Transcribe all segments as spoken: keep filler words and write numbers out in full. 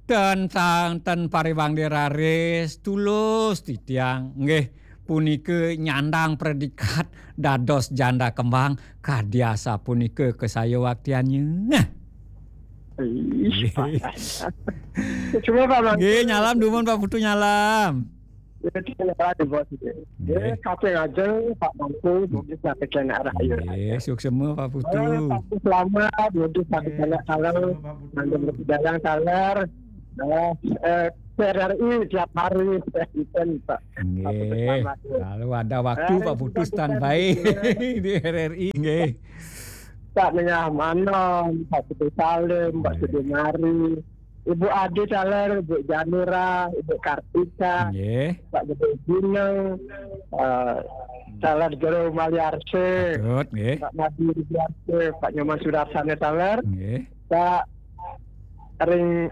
Ten sang ten pariwang diraris tulus titiang nggih punika nyandang predikat dados janda kembang kadi asapunika kasayawaktiannya. Ih, Pak. Cuma Pak Mangku. Nggih, nyalam dumun Pak Putu nyalam. Ya, kita nyalam di bos itu. Nggih. Ya, kaping ajeng Pak Mangku, mungkin sampai kena arah air. Nggih, suksema Pak Putu. Eh, Pak Putu selamat, mungkin sampai kena kalau nanti dalam taler. Nah, eh, P R R I tiap hari, Pak. Nggih. Lalu ada waktu Pak Putu standby di R R I nggih. Pak Nengah Manom, Pak Putu Salim, Pak Sudimari, Ibu Adi Taler, Ibu Janura, Ibu Kartika, nggih. Pak Gede Gunung, eh, Taler Jero Maliarse, Patut, nggih. Pak Madi Rudiarse, Pak Nyoman Sudarsana Taler, nggih. Pak Ring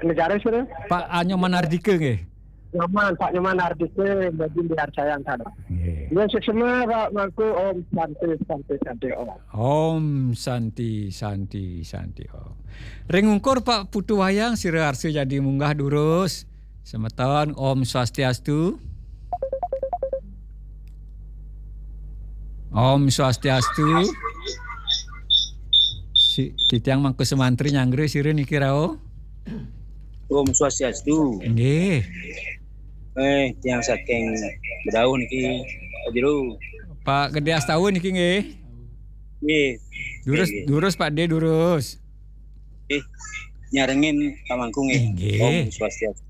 Negara sudah. Pak Anyoman Ardika nggih. Nyoman, Pak Nyoman Ardika, Mbak Jin Diarcayang sana. Nggih. Ya, suksema Pak Mangku, Om Santi, Santi, Santi, Om. Om Santi, Santi, Santi, Om. Ring ungkur Pak Putu Wayang, sira arsa jadi munggah durus. Semeton, Om Swastiastu. Om Swastiastu. Si, titiang mangku semantri nyanggra sira niki rauh. Om Swastiastu. Nggih. Eh, tiang saking Bedauh niki, Pak Jero. Pak Gede Astawa niki nggih. Nggih. Durus, nggih. Durus Pak De, durus. Nggih. Nyarengin Pak Mangku nggih. Nggih. Om Swastiastu.